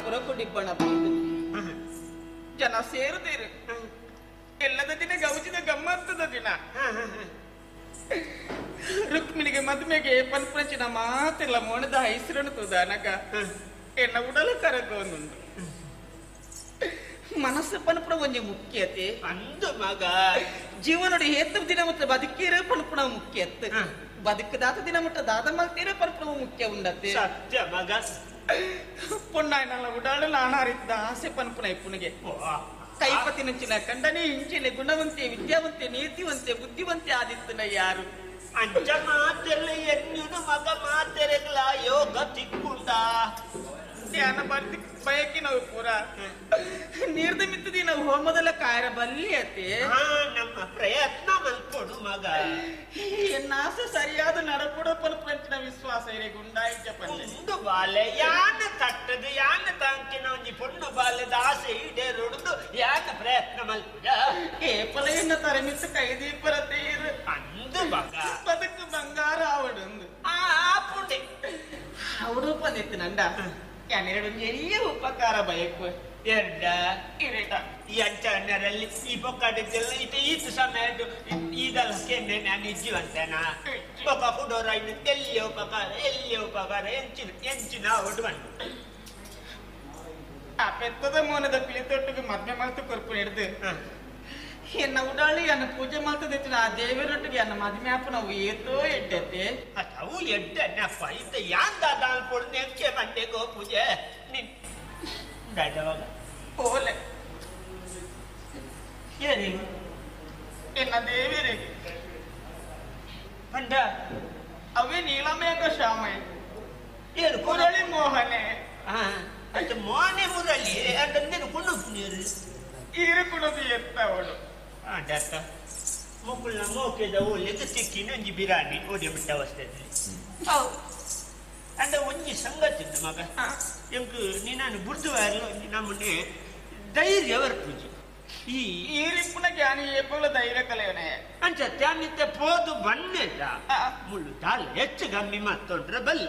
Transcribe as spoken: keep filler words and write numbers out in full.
ಪುರಕುಡಿಬ್ಬಣ ಬಂದು ಜನ ಸೇರುದೇರು ಎಲ್ಲದ ದಿನ ಗೌಜಿದ ಗಮ್ಮತ್ತದ ದಿನ. ರುಕ್ಮಿಣಿಗೆ ಮದುಮೆಗೆ ಪನ್ಪಂಚಿನ ಮಾತೆಲ್ಲ ಮೋಣದ ಹೆಸರನ್ನು ತೂದಾನಗ ಎನ್ನ ಉಡಲ ಕರಗೋನುಂಡು ಮನಸ್ಸು ಪನ್ಪುಣ ಒಂಜಿ ಮುಖ್ಯತೆ ಅಂದು ಮಗ ಜೀವನೋಡಿ ಏತ ದಿನ ಮುಟ್ಟ ಬದುಕೀರ ಪನ್ಪುಣ ಮುಖ್ಯತೆ ಬದುಕದಾತ ದಿನ ಮುಟ್ಟ ದಾದ ಮಲ್ತೀರ ಪನ್ಪುಣ ಮುಖ್ಯ ಉಂಡತೆ ಸತ್ಯ ಮಗ. ಪೊಣ್ಣಾಯ್ನಲ್ಲ ಉಡಾಳು ನಾನಾರಿದ್ದ ಆಸೆ ಪನ್ಪುಣ ಇಪ್ಪುನಿಗೆ ಕೈಪತಿ ನಂಚಿನ ಕಂಡನೆ ಇಂಚಿನ ಗುಣವಂತೆ ವಿದ್ಯಾವಂತೆ ನೀತಿವಂತೆ ಬುದ್ಧಿವಂತೆ ಆದಿತ್ತನ ಯಾರು ಅಂಚ ಮಾತೆಲ್ಲ ಎನ್ನುನು ಮಗ ಮಾತೆರೆಗ್ಲ ಯೋಗ ತಿಕ್ಕುಂಡ ಧ್ಯಾನ ಬರ್ತಿ ಬಯಕಿ ನಾವು ಪೂರ ನೀರ್ದ ಮಿತ್ತದಿ ನಾವು ಹೋಮದಲ್ಲ ಕಾಯರ ಬಲ್ಲಿ ಅತೆ ನಮ್ಮ ಪ್ರಯತ್ನ ಮಲ್ಕೊಡು ಮಗ. ಎನ್ನಾಸ ಸರಿಯಾದ ನಡಪುಡ ಪನ್ಪಂಚಿನ ವಿಶ್ವಾಸ ಇರೆ ಗುಂಡಾಯಿಚ ಪಲ್ಲೆ ಒಂದು ಬಾಲೆ ಯಾನ ತಟ್ಟದು ಯಾನ ತಾಂಕಿನ ಒಂಜಿ ಪೊಣ್ಣು ಬಾಲೆದ ಆಸೆ ಈಡೇರುಡುದು ಯಾನ ಪ್ರಯತ್ನ ಮಲ್ಪುಜ ಏಪಲ ಎನ್ನ ತರಮಿತ್ತು ಕೈದೀಪರ ತೀರು ಅಂದು ಮಗ ಬದುಕು ಬಂಗಾರ ಆವಡೊಂದು ಆ ಪುಂಡೆ ಅವಡು ಪಂದಿತ್ತು ನಂಡ ಯಾನೆರಡು ಎರಿಯ ಉಪಕಾರ ಬಯಕು ಎರಡ ಇರೇಟ ಈ ಅಂಚಣ್ಣರಲ್ಲಿ ಈ ಪೊಕ್ಕಡಿದ್ದೆಲ್ಲ ಇತ ಈತ ಸಮಯ ಈದಲ್ಲ ಕೆನ್ನೆ ನಾನು ಇಜ್ಜಿವಂತೇನ ಪೊಕ್ಕ ಕುಡೋರ ಇನ್ನು ಎಲ್ಲಿ ಉಪಕಾರ ಎಲ್ಲಿ ಉಪಕಾರ ಎಂಚಿನ ಎಂಚಿನ ಒಡು ಬಂದು ಆ ಪೆತ್ತದ ಮೋನದ ಪಿಳಿತೊಟ್ಟಿಗೆ ಮದ್ವೆ ಮಾಡ್ತು ಕೊರ್ಪು ಹಿಡ್ದು ಎನ್ನ ಉಡಾಳಿ ಅನ್ನ ಪೂಜೆ ಮಾಡ್ತದ ಆ ದೇವರೊಟ್ಟಿಗೆ ಅನ್ನ ಮದ್ವೆ ಅಪ್ಪ ನಾವು ಏತೋ ಎಡ್ಡತೆ ಅವು ಎಡ್ಡನಪ್ಪ ಇತ್ತ ಯಾಂದ ದಾಲ್ ನೆಕ್ಕೆ ಬಂಡೆಗೋ ಪೂಜೆ ನಿನ್ ಉಂಡಾಯ್ತವಾಗ ಪೋಲೆ ಏನಿಲ್ಲ ಎನ್ನ ದೇವರಿಗೆ ಪಂಡ ಅವೇ ನೀಲಮೇಘ ಶ್ಯಾಮೆ ಏನು ಮುರಳಿ ಮೋಹನೆ ಅದು ಮೋನೆ ಮುರಳಿ ಅಂತಂದೇನು ಕೊಂಡು ನೀರು ಈರು ಕುಣದು ಎತ್ತವಳು ಅಡತ್ತ ಮುಕುಲ್ನ ಮೋಕೆದ ಓಲೆದು ಸಿಕ್ಕಿನ ಒಂಜಿ ಬಿರಾನಿ ಓಡಿ ಬಿಟ್ಟ ಅವಸ್ಥೆಯಲ್ಲಿ ಅಂಡ ಒಂಜಿ ಸಂಗತಿ ಮಗ ಎಂಕ್ ನೀನು ಬುಡ್ದು ನಮ್ಮನೆ ಧೈರ್ಯ ಬರ್ಪುಜಿ ಈ ಈರಿಪ್ಪುನ ಜ್ಞಾನಿ ಏಪುಲ ಧೈರ್ಯ ಕಲೆಯವನೇ ಅಂಚ ತ್ಯಾನಿತ್ತೆ ಪೋದು ಬನ್ನೆದ ಮುಳ್ಳು ದಾಲ್ ಹೆಚ್ಚು ಗಮ್ಮಿ ಮತ್ತೊಂಡ್ರೆ ಬಲ್ಲಿ.